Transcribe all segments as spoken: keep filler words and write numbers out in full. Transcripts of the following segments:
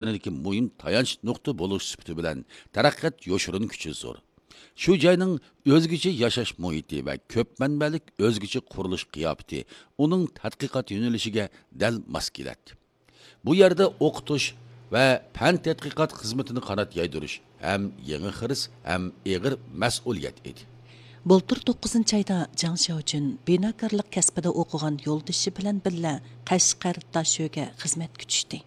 يەنىدىكى مۇھىم تايانچ نۇقتا بولۇش سۈپىتى بىلەن تەرەققىيات يوشۇرۇن كۈچى زور. شۇ جاينىڭ ئۆزگىچە ياشاش مۇھىتى ۋە كۆپ مەنبەلىك ئۆزگىچە قۇرۇلۇش قىياپىتى ئۇنىڭ تەتقىقات يۆنىلىشىگە دەل ماس كېلەتتى. بۇ يەردە ئوقۇتۇش ۋە پەن تەتقىقات خىزمىتىنى قانات يايدۇرۇش ھەم يېڭى خىرىس، ھەم ئېغىر مەسئۇلىيەت ئىدى. بۇلتۇر توققۇزىنچى ئايدا جاڭ شياۋجۈن بىناكارلىق كەسپىدە ئوقۇغان يولدىشى بىلەن بىللە قەشقەر داشۆگە خىزمەتكە چۈشتى.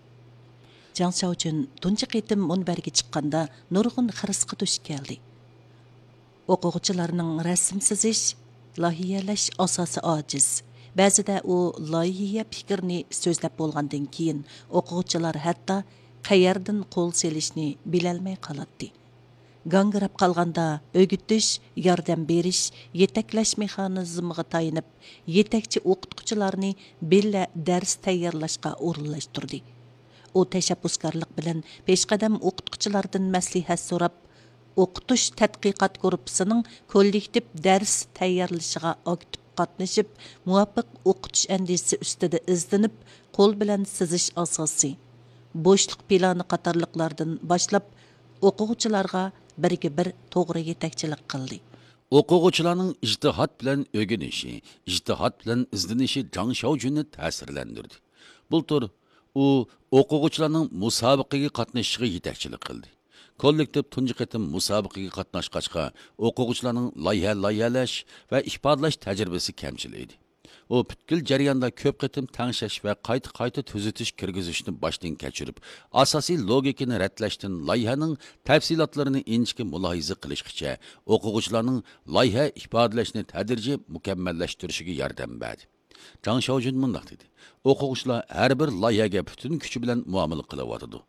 جاڭ شياۋجۈن تۇنجى قېتىم مۇنبەرگە چىققاندا نۇرغۇن خىرىسقا دۇچ كەلدى. ئوقۇغۇچىلارنىڭ رەسىم سىزىش، لايىھەلەش ئاساسى ئاجىز. بەزىدە ئۇ لايىھە پىكرىنى سۆزلەپ بولغاندىن كېيىن، ئوقۇغۇچىلار ھەتتا قەيەردىن قول سېلىشنى بىلەلمەي قالاتتى. گاڭگىراپ قالغاندا ئۆگىتىش، ياردەم بېرىش، يېتەكلەش مېخانىزمىغا تايىنىپ، يېتەكچى ئوقۇتقۇچىلارنى بىللە دەرس تەييارلاشقا ئورۇنلاشتۇردى. ئۇ تەشەببۇسكارلىق بىلەن پېشقەدەم ئوقۇتقۇچىلاردىن مەسلىھەت سوراپ، ئوقۇتۇش تەتقىقات گۇرۇپپىسىنىڭ كوللېكتىپ دەرس تەييارلىشىغا ئاكتىپ قاتنىشىپ، مۇۋاپىق ئوقۇتۇش ئەندىزىسى ئۈستىدە ئىزدىنىپ، قول بىلەن سىزىش ئاساسى، بوشلۇق پىلانى قاتارلىقلاردىن باشلاپ، ئوقۇغۇچىلارغا بىرگە بىر توغرا يېتەكچىلىك قىلدى. ئوقۇغۇچىلارنىڭ ئىجتىھات بىلەن ئۆگىنىشى، ئىجتىھات بىلەن ئىزدىنىشى جاڭ شياۋجۈننى تەسىرلەندۈردى. بۇلتۇر ئۇ ئوقۇغۇچىلارنىڭ مۇسابىقىگە قاتنىشىشىغا يېتەكچىلىك قىلدى. كوللېكتىپ تۇنجى قېتىم مۇسابىقىگە قاتناشقاچقا، ئوقۇغۇچىلارنىڭ لايىھە لايىھەلەش ۋە ئىپادىلەش تەجرىبىسى كەمچىل ئىدى. ئۇ پۈتكۈل جەرياندا كۆپ قېتىم تەڭشەش ۋە قايتا قايتا تۈزىتىش كىرگۈزۈشنى باشتىن كەچۈرۈپ، ئاساسىي لوگىكىنى رەتلەشتىن لايىھەنىڭ تەپسىلاتلىرىنى ئىنچىكە مۇلاھىزە قىلىشقىچە، ئوقۇغۇچىلارنىڭ لايىھە ئىپادىلەشنى تەدرىجىي مۇكەممەللەشتۈرۈشىگە ياردەم بەردى. جاڭ شياۋجۈن مۇنداق دېدى: ئوقۇغۇچىلار ھەر بىر لايىھەگە پۈتۈن كۈچى بىلەن مۇئامىلە قىلىۋاتىدۇ.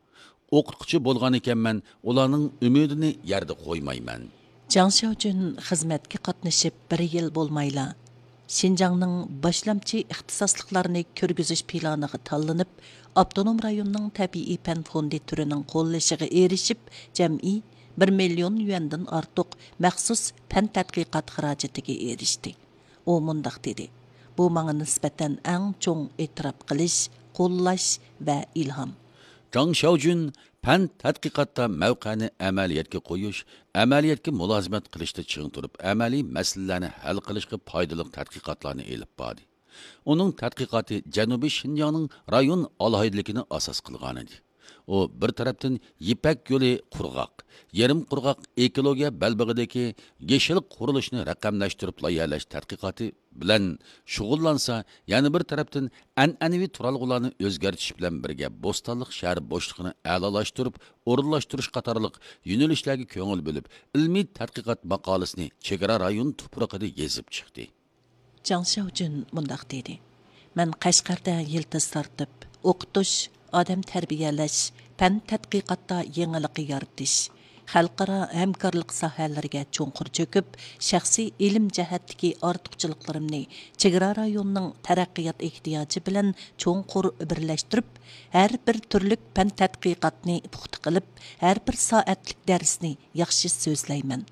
ئوقۇتقۇچى بولغان ئىكەنمەن، ئۇلارنىڭ ئۈمىدىنى يەردە قويمايمەن. جاڭ شياۋجۈن خىزمەتكە قاتنىشىپ بىر يىل بولمايلا، شىنجاڭنىڭ باشلامچى ئىختىساسلىقلارنى كىرگۈزۈش پىلانىغا تاللىنىپ، ئاپتونوم رايوننىڭ تەبىئىي پەن فوندى تۈرىنىڭ قوللىشىغا ئېرىشىپ، جەمئىي بىر مىليون يۈەندىن ئارتۇق مەخسۇس پەن تەتقىقات خىراجىتىگە ئېرىشتى. ئۇ مۇنداق دېدى: بۇ ماڭا نىسبەتەن ئەڭ چوڭ ئېتىراپ قىلىش، قوللاش ۋە ئىلھام. جاڭ شياۋجۈن پەن تەتقىقاتتا مەۋقەنى ئەمەلىيەتكە قويۇش، ئەمەلىيەتكە مۇلازىمەت قىلىشتا چىڭ تۇرۇپ، ئەمەلىي مەسىلىلەرنى ھەل قىلىشقا پايدىلىق تەتقىقاتلارنى ئېلىپ باردى. ئۇنىڭ تەتقىقاتى جەنۇبىي شىنجاڭنىڭ رايون ئالاھىدىلىكىنى ئاساس قىلغانىدى. ئۇ بىر تەرەپتىن يىپەك يولى قۇرغاق، يېرىم قۇرغاق ئېكولوگىيە بەلبېغىدىكى يېشىل قۇرۇلۇشنى رەقەملەشتۈرۈپ لايىھەلەش تەتقىقاتى بىلەن شۇغۇللانسا، يەنە بىر تەرەپتىن ئەنئەنىۋى تۇرالغۇلارنى ئۆزگەرتىش بىلەن بىرگە بوستانلىق شەھەر بوشلۇقىنى ئەلالاشتۇرۇپ ئورۇنلاشتۇرۇش قاتارلىق يۆنىلىشلەرگە كۆڭۈل بۆلۈپ، ئىلمىي تەتقىقات ماقالىسىنى چېگرا رايون تۇپرىقىدا يېزىپ چىقتى. جاڭ شياۋجۈن مۇنداق دېدى: مەن قەشقەردە يىلتىز تارتىپ، ئوقۇتۇش، ئادەم تەربىيەلەش، پەن تەتقىقاتتا يېڭىلىق يارىتىش، خەلقئارا ھەمكارلىق ساھەلىرىگە چوڭقۇر چۆكۈپ، شەخسىي ئىلىم جەھەتتىكى ئارتۇقچىلىقلىرىمنى چېگرا رايوننىڭ تەرەققىيات ئېھتىياجى بىلەن چوڭقۇر بىرلەشتۈرۈپ، ھەر بىر تۈرلۈك پەن تەتقىقاتنى پۇختا قىلىپ، ھەر بىر سائەتلىك دەرسنى ياخشى سۆزلەيمەن.